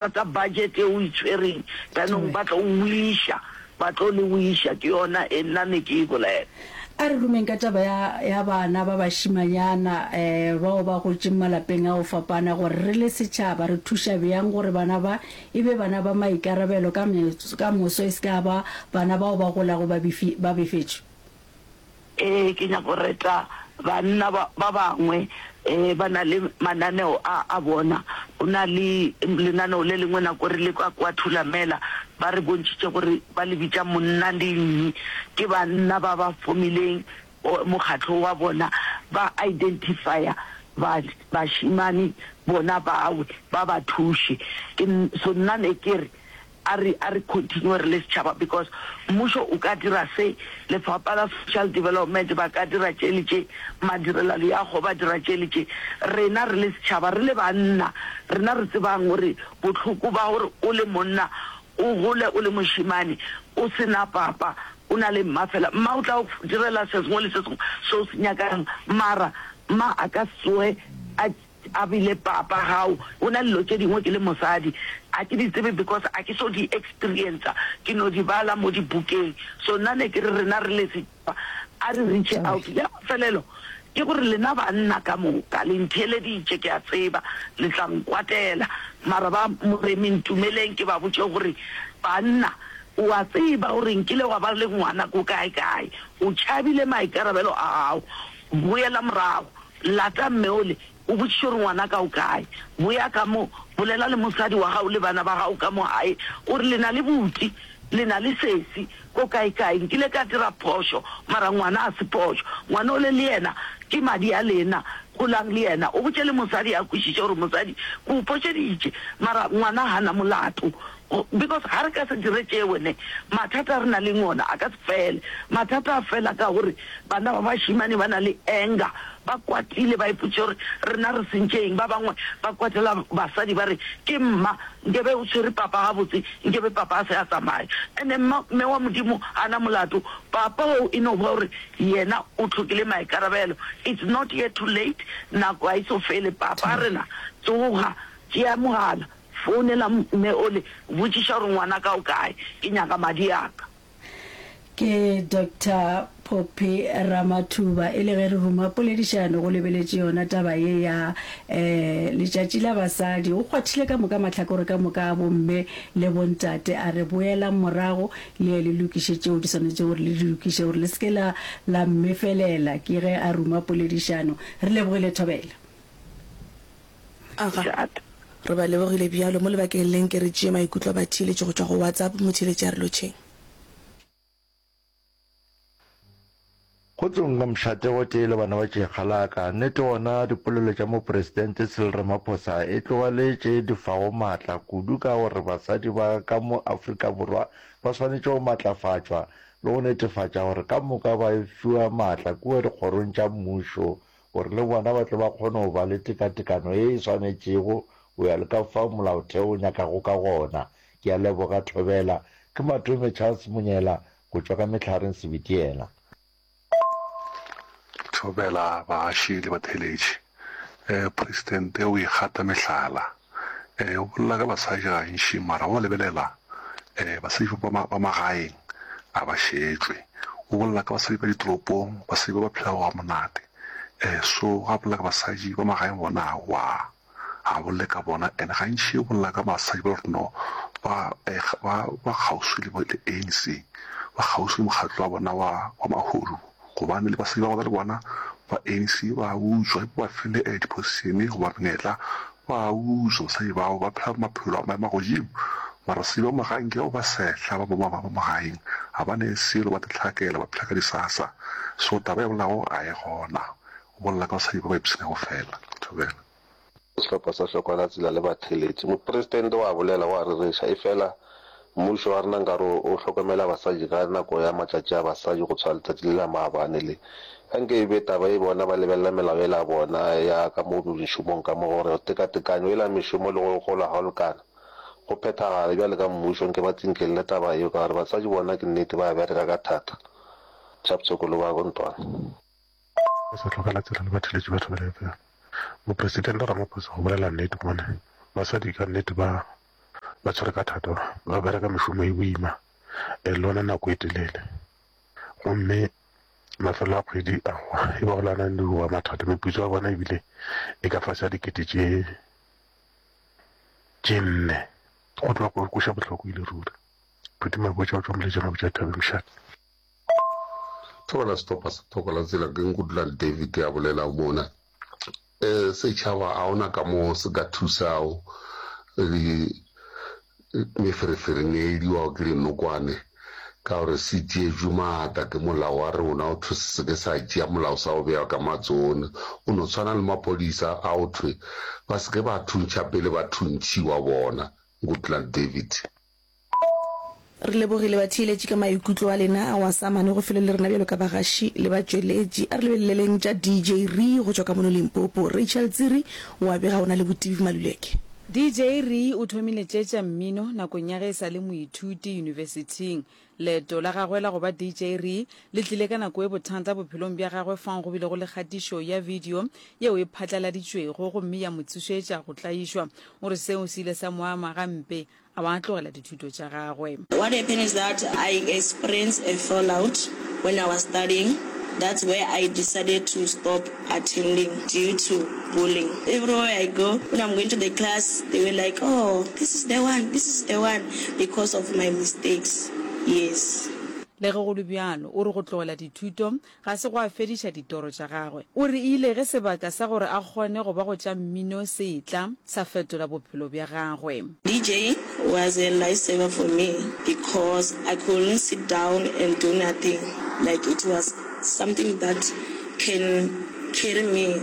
Tsa budget e o e tshwereng jaanong ba tlo wiša, ba tlo le wiša, ke yona e nna ne ke e bolela. A re rumeng ka taba ya, ya bana ba bašimanyana um bao ba gotšeng malapeng a go fapana gore re le setšhaba re thuša bjang gore bana ba e be bana ba maikarabelo ka, ka moso e se ka ba bana bao ba golago ba befi, ba befetšwe. Ee, ke nyaka go reta banna ba, ba bangwe, ee, ba na le mananeo a, a bona. Go na le lenaneo le lengwe nako re le ka kwa Thulamela, ba re bontšhitše gore ba le bitša Monna le Nyi. Ke banna ba ba fomileng mokgatlo wa bona, ba identifya ba, bašemane bona bawe, ba ba thuše. Ke, so nna ne ke re, A re, a re continue re le setšhaba because mmušo o ka dira se, lefapha la social development ba ka dira tše le tše, madirelaleago ba dira tše le tše. Rena re le setšhaba, re le banna, rena re tsebang gore bohloko ba gore o le monna o gole o le mošemane o se na papa, o na le mma fela, mma o tla go direla se sengwe le se sengwe se o se nyakang mara mma a ka se tsoge a A bile papa gao o na le dilo tše dingwe ke le mosadi a ke di tsebe because a ke so di experiencer ke no di bala mo dibukeng so nna ne ke re rena re le setšhaba a re reach out ya mafelelo ke gore lena banna ka moka le ntheeleditše ke a tseba le tla nkwatela mara ba moremi ntumeleng ke ba botše gore banna o a tseba gore nkile wa ba le ngwana ko kae kae o tšhabile maikarabelo a gago boela morago Lata mme ole, o botšiše gore ngwanaka o kae. Boya ka mo, bolela le mosadi wa gago le bana ba gago ka mo gae, o re le na le buti, le na le sesi, ko kaekae. Nkile ka dira phošo, mara ngwana ga se phošo. Ngwana ole le yena ke madi a lena, golang le yena. O botše le mosadi a kwešiše gore mosadi, ke o phošeditše, mara ngwana ga na molato. Because ga re ka se dire tšeo ne, mathata a re na leng ona a ka se fele. Mathata a fela ka gore bana ba bašemane ba na le anger, ba kwatile, ba ipotšiša gore rena re sentše eng. Ba bangwe ba kwatela basadi ba re ke mma, nkebe o tshwere papa gabotse, nkebe papa a se a tsamaya. And-e mma, mme wa Modimo ga na molato, papa oo e no ba gore yena o hlokile maikarabelo. It's not yet too late, nako ga e so fele. Papa rena tsoga, tšea mogala. Founela mme ole, botšiša gore ngwanaka o kae, ke nyaka madi a ka. Ke Doctor Phophi Ramathuba. E le ge re ruma poledišano go lebeletše yona taba ye ya um Letšatši la Basadi. O kgwathile ka moka mahlakore ka moka a bomme le bontate, a re boelang morago le ye le lokiše tšeo di swanetšego gore le di lokiše gore le se ke la la mmefelela. Ke ge a ruma poledišano. Re lebogile Thobela. Aga, re ba lebogile bjalo. Mo lebakeng le nke re tšee maikutlo a batheeletši go tšwa go WhatsApp. Motheeletši a re lotšheng. Kgotsong ka mošate gotee le bana ba Tšekgalaka. Nnete gona dipolelo tša Mopresidente Cyril Ramaphosa e tloga le tše di fago maatla kudu ka gore basadi ba ka mo Afrika Borwa ba swanetše go matlafatšwa le go netefatša gore ka moka ba fiwa maatla kua dikgorong tša mmušo gore le bona ba tle ba kgone go ba le tekatekano ye e swanetšego go ya le ka fao molaotheo o nyakago ka gona. Ke a leboga Thobela. Ke Matome Charles Monyela go tšwa ka Mehlareng Sebitiela. Thobela baaši le batheeletši. Presidente o ikgata mehlala. O bolela ka basadi gantši mara wa lebelela basadi ba ba magaeng a ba šetšwe. O bolela ka basadi ba ditoropong, basadi ba ba phelago ga monate. So ga bolela ka basadi ba magaeng bona aowa, ga a bolele ka bona. And gantši o bolela ka basadi ba gore no ba ba ba kgauswi le le ANC, ba kgauswi le mokgatlo wa bona wa wa mahodu. Gobane le basadi ba go le bona ba ANC ba utswa, ba file di-position goba menyetla Ba utswa basadi bao, ba phela maphelo a maemo a godimo. Mara basadi ba magaeng ke bao ba sehla, ba bomma ba magaeng ga ba ne selo, ba tehlakela, ba phela ka disasa. So taba e bolelago ga e gona. O bolela ka basadi ba ba ipshinago fela. Thobela. Sehlopha sa Hlokwalatsela le batheeletši. Mopresidente o a bolela, o a rereša, efela Mmušo wa rena nkare o hlokomela basadi ka nako ya matšatši a basadi go tshwana letšatši le la maabane le. Ga nke e be taba e bona ba lebelela melao yela ya bona ya ka mo mešomong ka mo gore tekatekanyo yela ya mešomo le go gola ga go lekana go phethagale bjale ka mmušo nke ba tsinkelele taba yeo ka gore basadi bona ke nnete ba bereka ka thata. Chapter Kolobako Ntwana. Go sa hlokala tsela le batheletši ba Thobela FM. Mopresidente Ramaphosa go bolela nnete gobane basadi ka nnete ba. Ba tshwere ka thata, ba bereka mešomo e boima le yona nako e telele. Gomme mafelo a kgwedi aowa e ba go lana le wa mathata. Meputso ya bona ebile e ka fase ga dikete tše tše nne. Go tloga go kweša bohloko e le ruri. Phuti Mabotja o tšwa Moletšana o botša Thabeng Mošate. Thobela sehlopha sa Thoko la Tsela ke Nkutlwang David a bolela mona. Um setšhaba ga ona ka mo se ka thusago meferefereng e ediwago ke dinokwane ka gore se tšeetšwe maatla ke molao wa rona o thwe se se ke sa tšea molao sa o bea ka matsogong o no tshwana le maphodisa a o thwe ba se ke ba thuntšha pele ba thuntšhiwa bona Nkutlwang David. Re lebogile batheeletši ka maikutlo a lena ao a sa amanego felo le rena bjalo ka bagaši le batšweletši. A re lebeleleng tša DJ Ree go tšwa ka mono Limpopo. Rachel Tsiri o a bega o na le Botibi Maluleke. DJ Ree o thomile tše tša mmino nakong ya ge e sa le moithuti yunibesithing. Leeto la gagwe la go ba DJ Ree le tlile ka nako e bothata bophelong bja gagwe fao go bilego le kgatišo ya video yeo e phatlaladitšwego gomme ya mo tsošetša go tlaišwa. O re seo se ile sa mo ama gampe a ba a tlogela dithuto tša gagwe. What happened is that I experienced a fallout when I was studying, that's where I decided to stop attending due to bullying. Everywhere I go, when I'm going to the class, they were like, oh, this is the one, this is the one, because of my mistakes, yes. Le ge go le bjalo, o re go tlogela dithuto ga se gwa fediša ditoro tša gagwe. O re e ile ge sebaka sa gore a kgone go ba go tša mmino se etla, sa fetola bophelo bja gagwe. DJing was a lifesaver for me because I couldn't sit down and do nothing, like it was something that can carry me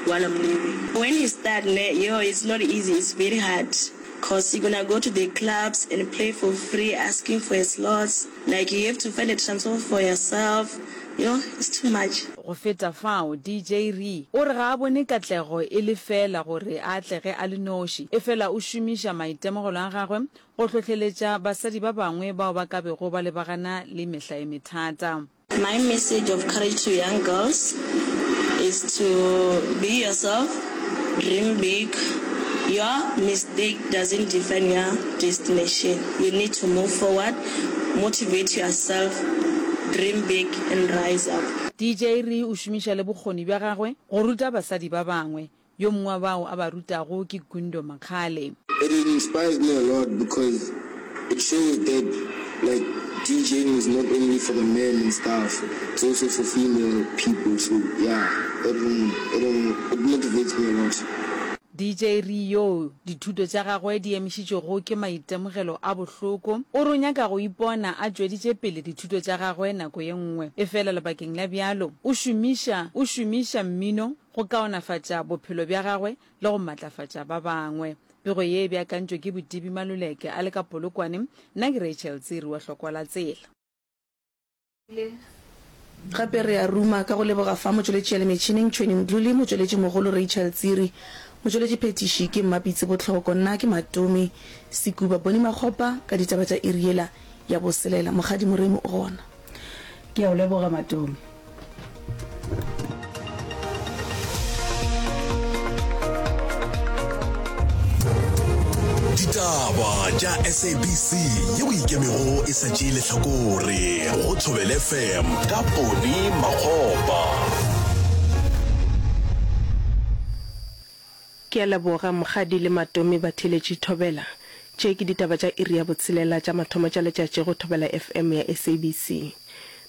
while I'm living. When you start ne, yo it's not easy, it's very hard cause you gonna go to the clubs and play for free asking for a slots, like you have to find a transport for yourself, Yoh, it's too much. Go feta fao, DJ Ree o re ga a bone katlego e le feela gore a atlege a le noši, efela o šomiša maitemogelo a gagwe go hlohleletša basadi ba bangwe bao ba ka bego ba lebagana le mehla e methata. My message of courage to young girls is to be yourself, dream big, your mistake doesn't define your destination, you need to move forward, motivate yourself, dream big and rise up. DJ Ree o šomiša le bokgoni bja gagwe go ruta basadi ba bangwe. Yo mongwe wa bao a ba rutago ke Gundo Makgale. It inspires me a lot because it shows that like DJing is not only for the men and stuff, it's also for female people so yeah it it it motivates me a lot. DJ Ree yoo dithuto tša gagwe di emišitšwego ke maitemogelo a bohloko, o re o nyaka go ipona a tšweditše pele dithuto tša gagwe nako ye nngwe. Efela lebakeng la bjalo, o šomiša o šomiša mmino go kaonafatša bophelo bja gagwe le go matlafatša ba bangwe. Pego ye e beakantšwe ke Botibi Maluleke a le ka Polokwane, nna ke Rachel Tsiri wa Hlokwa la Tsela. Gape re a ruma ka go leboga fa motšweletši ya le metšhineng Tšhweni Mdluli, motšweletši mogolo Rachel Tsiri, motšweletši phethiši ke Mmapitsi Botlhoko, nna ke Matome Sekuba Boni Makgopa ka ditaba tša iri yela ya boselela. Mokgadi Moremi o gona. Ke a o leboga Matome. Ditaba tša SABC yeo ikemego e sa tšee lehlakore go Thobela FM ka Poni Makgopa. Ke a leboga Mokgadi le Matome Batheeletši Thobela. Tše ke ditaba tša iri ya botshelela tša mathomo tša letšatši go Thobela FM ya SABC.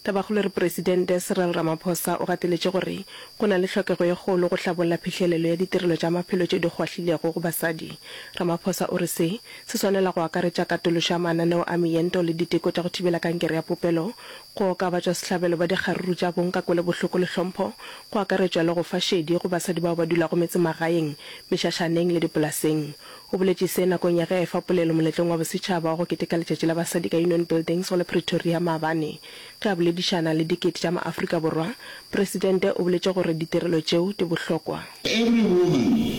Tabakgolo e re Presidente Cyril Ramaphosa o gateletše gore go na le hlokego ye kgolo go hlabolla phihlelelo ya ditirelo tša maphelo tše di kgwahlilego go basadi. Ramaphosa o re se se swanela go akaretša katološo ya mananeo a meento le diteko tša go thibela kankere ya popelo, go oka batšwasehlabelo ba dikgaruru tša bong ka kwelobohloko le hlompho, go akaretšwa le go fa šedi go basadi bao ba dulago metsemagaeng, mešašaneng le dipolaseng. O boletše se nakong ya ge a efa polelo moletlong wa bosetšhaba wa go keteka Letšatši la Basadi ka Union Buildings go la Pretoria maabane. Ge a boledišana le dikete tša maAfrika Borwa, Presidente o boletše gore ditirelo tšeo di bohlokwa. Every woman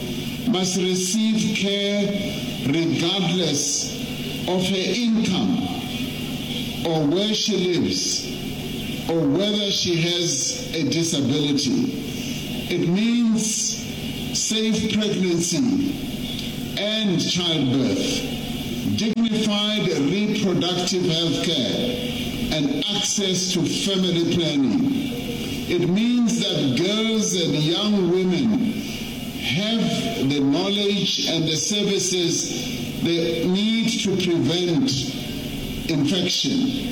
must receive care regardless of her income or where she lives or whether she has a disability. It means safe pregnancy and childbirth, dignified. Nationwide reproductive health care and access to family planning. It means that girls and young women have the knowledge and the services they need to prevent infection.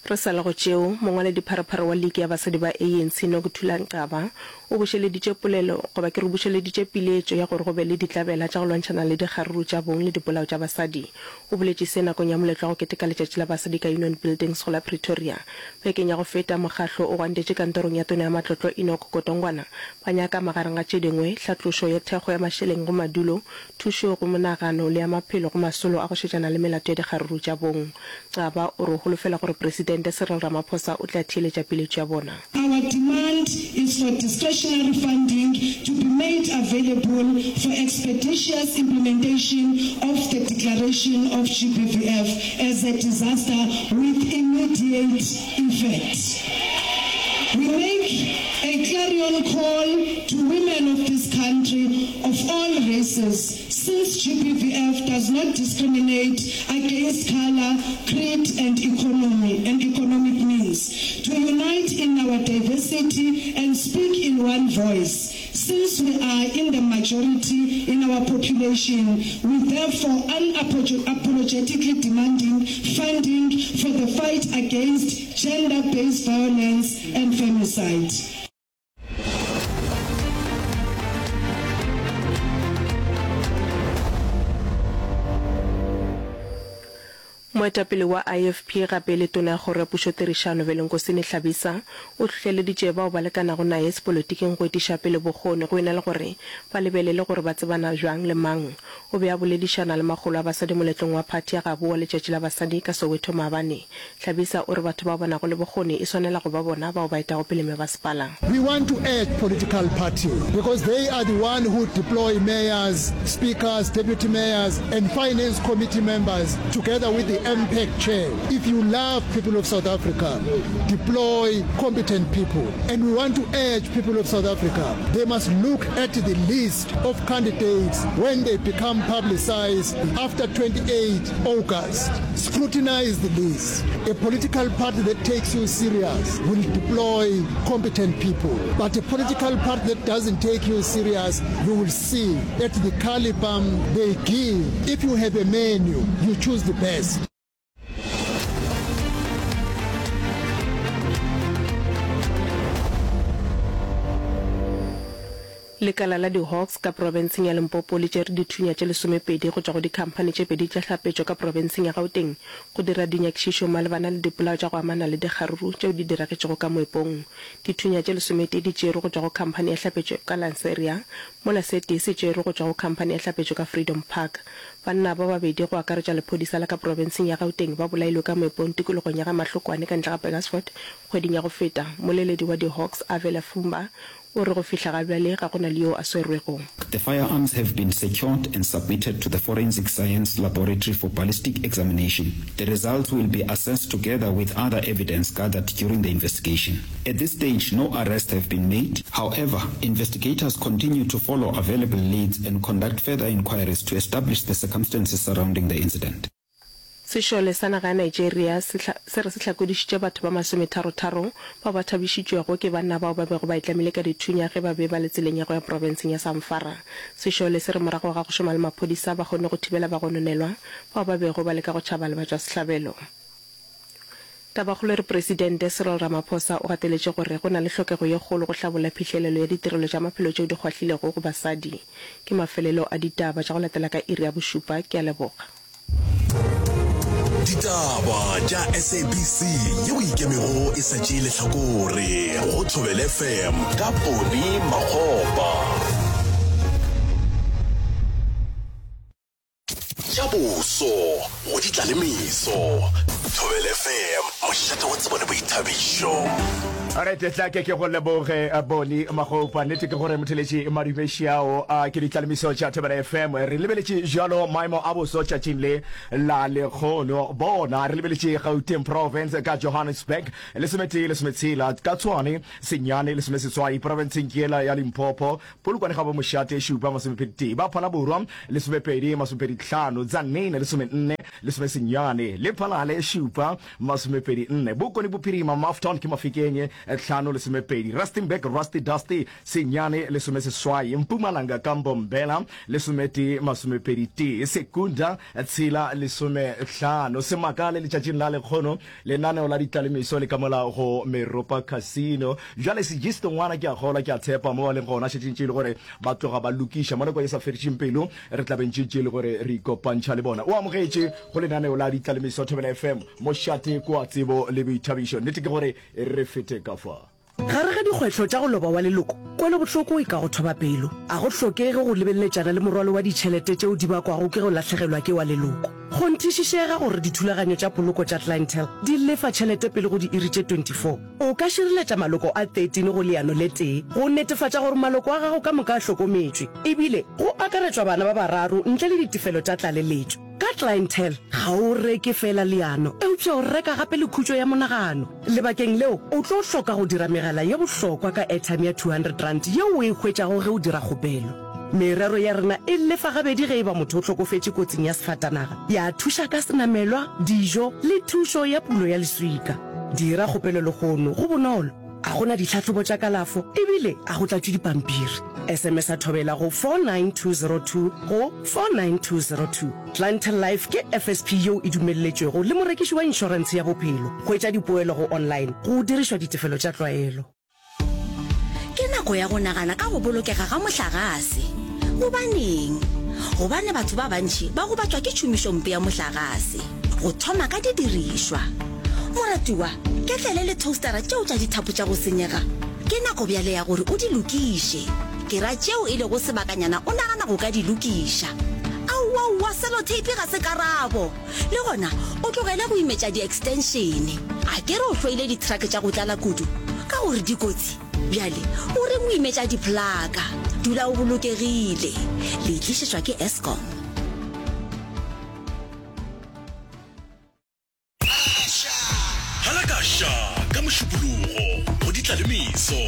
Re sa le go tšeo, mongwaledipharephare wa liki ya basadi ba ANC Nokuthula Nqaba o bušeleditše polelo goba ke re o bušeleditše piletšo ya gore go be le ditlabela tša go lwantšhana le dikgaruru tša bong le dipolao tša basadi. O boletše se nakong ya moletlo wa go keteka letšatši la basadi ka Union Buildings go la Pretoria. Bekeng ya go feta, mokgahlo o gwantetše kantorong ya tona ya matlotlo Enoch Godongwana ba nyaka magareng ga tše dingwe, hlatlošo ya thekgo ya mašeleng go madulo, thušo go monagano le ya maphelo go masolo a go šetšana le melato ya dikgaruru tša bong. Xaba o re o holofela gore Presidente Cyril Ramaphosa o tla theeletša peeletšo ya bona. Our demand is for discretionary funding to be made available for expeditious implementation of the declaration of GBVF as a disaster with immediate effect. We make a clarion call to women of this country of all races, Since GBVF does not discriminate against colour, creed and economy and economic means, to unite in our diversity and speak in one voice. Since we are in the majority in our population, we therefore unapologetically demanding funding for the fight against gender-based violence and femicide. Moetapele wa IFP gape le Tona ya Kgoro ya Pušotirišano Velenkosini Hlabisa o hlohleleditše bao ba lekanago naye sepolotiking go etiša pele bokgoni go e na le gore ba lebelele gore ba tsebana bjang le mang. O be a boledišana le makgolo a basadi moletlong wa phathi ya gabo wa Letšatši la Basadi ka Soweto maabane. Hlabisa o re batho bao ba nago le bokgoni e swanela go ba bona bao ba etago pele mebasepala. We want to urge political parties because they are the one who deploy mayors, speakers, deputy mayors and finance committee members together with the MPEC chair. If you love people of South Africa, deploy competent people. And we want to urge people of South Africa, they must look at the list of candidates when they become publicized after 28 August. Scrutinize the list. A political party that takes you serious will deploy competent people. But a political party that doesn't take you serious, you will see at the caliber they give. If you have a menu, you choose the best. Lekala la di-Hawks ka profenseng ya Limpopo le tšere dithunya tše lesomepedi go tšwa go dikhamphani tše pedi tša hlapetšo ka profenseng ya Gauteng go dira dinyakišišo malebana le dipolao tša go amana le dikgaruru tšeo di diragetšego ka moepong. Dithunya tše lesometee di tšerwe go tšwa go khamphani ya hlapetšo ka Lanseria, mola se tee se tšerwe go tšwa go khamphani ya hlapetšo ka Freedom Park. Banna ba babedi go akaretša lephodisa la ka profenseng ya Gauteng ba bolailwe ka moepong tikologong ya ga Mahlokwane ka ntle ga Burgersfort kgweding ya go feta. Mmoleledi wa di-Hawks Avela Fumba o re go fihla ga bjale ga go na le yo a swerwego. The firearms have been secured and submitted to the Forensic Science Laboratory for ballistic examination. The results will be assessed together with other evidence gathered during the investigation. At this stage, no arrests have been made. However, investigators continue to follow available leads and conduct further inquiries to establish the circumstances surrounding the incident. Sešole sa naga ya Nigeria se se re se hlakodišitše batho ba masometharotharo bao ba thabišitšwego ke banna bao ba bego ba itlamile ka dithunya ge ba be ba le tseleng ya go ya profenseng ya Zamfara. Sešole se re morago ga go šoma le maphodisa ba kgonne go thibela bagononelwa bao ba bego ba leka go tšhaba le batšwasehlabelo. Tabakgolo e re Presidente Cyril Ramaphosa o gateletše gore go na le hlokego ye kgolo go hlabolla phihlelelo ya ditirelo tša maphelo tšeo di kgwahlilego go basadi. Ke mafelelo a ditaba tša go latela ka iri ya bošupa. Ke a leboga. Ditaba tša SABC yeo e ikemego e sa tšee lehlakore go Thobela FM ka Poni Makgopa. Tša boso go di tla le meso. Thobela FM, mošate wa tsebo le boithabišo. Alright, tla ke ke go leboge eh, Boni Magopa. Nnete ke gore motheletši Madumešiao a ke ditlalemiso tša Thobela FM. Re lebeletše jalo maemo a boso tšatšing le la lekgono. Bona re lebeletše Gauteng Province ka Johannesburg lesometee lesometshela, ka Tshwane senyane lesomeseswai, profenseng ke yela ya Limpopo Polokwane ga bo mošate šupa masomepedi tee, ba Phalaborwa lesomepedi masomepedi tlhano, Tzaneen lesomenne lesomesenyane, Lephalale šupa masomepedi nne, Bokone Bophirima Maftown ke Mafikeng tlhano lesomepedi, Rustenburg Rusty Dusty senyane lesomeseswai, Mpumalanga ka Mbombela lesometee masomepedi tee, Secunda tshela lesomehlano. Se makale letšatšing la lekgono Lenaneo la ditlalemiso le ka mola go Meropa Casino. Bjale Segisto ngwana ke a kgolwa, ke a tshepa mo ba leng gona šetše ntše e le gore ba tloga ba lokiša. Mo nako e sa fedišeng pelo re tla be ntše ntše e le gore re ikopantšha le bona. O amogetše go lenaneo la ditlalemiso Thobela FM, mošate kwa tsebo le boithabišo. Nnete ke gore re fete ka fa. Gare ga dikgwetlho tša go loba wa leloko, kwelobohloko e ka go thoba pelo. A go hlokege go lebeletšana le morwalo wa ditšhelete tšeo di bakwago ke go lahlegelwa ke wa leloko. Kgonthišišega gore dithulaganyo tša poloko tša Clientele di lefa tšhelete pele go diiri tše 24. O ka šireletša maloko a 13 go leano le tee go netefatša gore maloko a gago ka moka a hlokometšwe, ebile go akaretšwa bana ba bararo ntle le ditefelo tša tlaleletšo. Ka Clientele, ga o reke feela leano, eupša o reka gape le khutšo ya monagano. Lebakeng leo, o tlo hloka go dira megala ye bohlokwa ka airtime ya R200 yeo o e hwetšago ge o dira kgopelo. Merero ya rena e lefa gabedi ge e ba motho o hlokofetše kotsing ya sefatanaga, ya thuša ka senamelwa, dijo le thušo ya pulo ya leswika. Dira kgopelo lehono, go bonolo. A go na ditlhahlobo tša kalafo ebile a go tlatšwe dipampiri. SMS-a Thobela go 49202 go 49202. Clientele Life ke FSP yeo e dumelletšwego le morekiši wa inšorentshe ya bophelo. Hwetša dipoelo go online go dirišwa ditefelo tša tlwaelo. Ke nako ya go nagana ka go bolokega ga mohlagase. Gobaneng? Gobane batho ba bantši ba gobatšwa ke tšhomišompe ya mohlagase. Go thoma ka didirišwa. Moratiwa, ketlele le toastara tšeo tša dithapo tša go senyega, ke nako bjale ya gore o di lokiše. Ke ra tšeo e lego sebakanyana o nagana go ka di lokiša. Aowaowa, seloteipi ga se karabo! Le gona o tlogele go imetša di-extension. A ke re o hloile di-truck tša go tlala kudu ka gore di kotsi? Bjale o reng o imetša di-plaka? Dula o bolokegile. Le e tlišetšwa ke Eskom. Halakaša ka Mošupologo go Ditlalemeso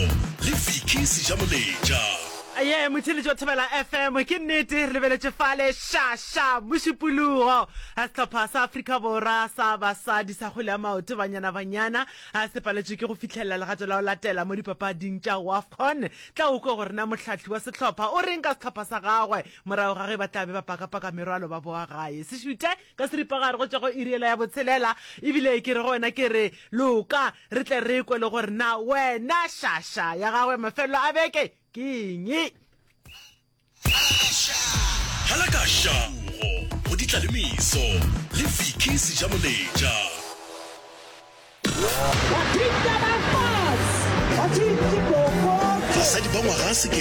le Vicky Sejamoletša. Ye, motheeletši wa Thobela FM, ke nnete re lebeletše fale ša ša Mošupologo. Sehlopha sa Afrika Borwa sa basadi sa kgwele ya maoto Banyana Banyana se paletšwe ke go fihlelela legato la go latela mo dipapading tša WAFCON. Tla o kwe gore na mohlahli wa sehlopha o reng ka sehlopha sa gagwe morago ga ge ba tla be ba pakapaka merwalo ba boa gae. Se šuthe Ka seripagare go tšwa go iri yela ya botshelela, ebile ke re go wena ke re, Loka, re tle re kwe le gore na wena šaša ya gagwe mafelelo a beke ke eng. Halakaša go Ditlalemeso le Vicky Sejamoletša. Basadi ba ngwaga.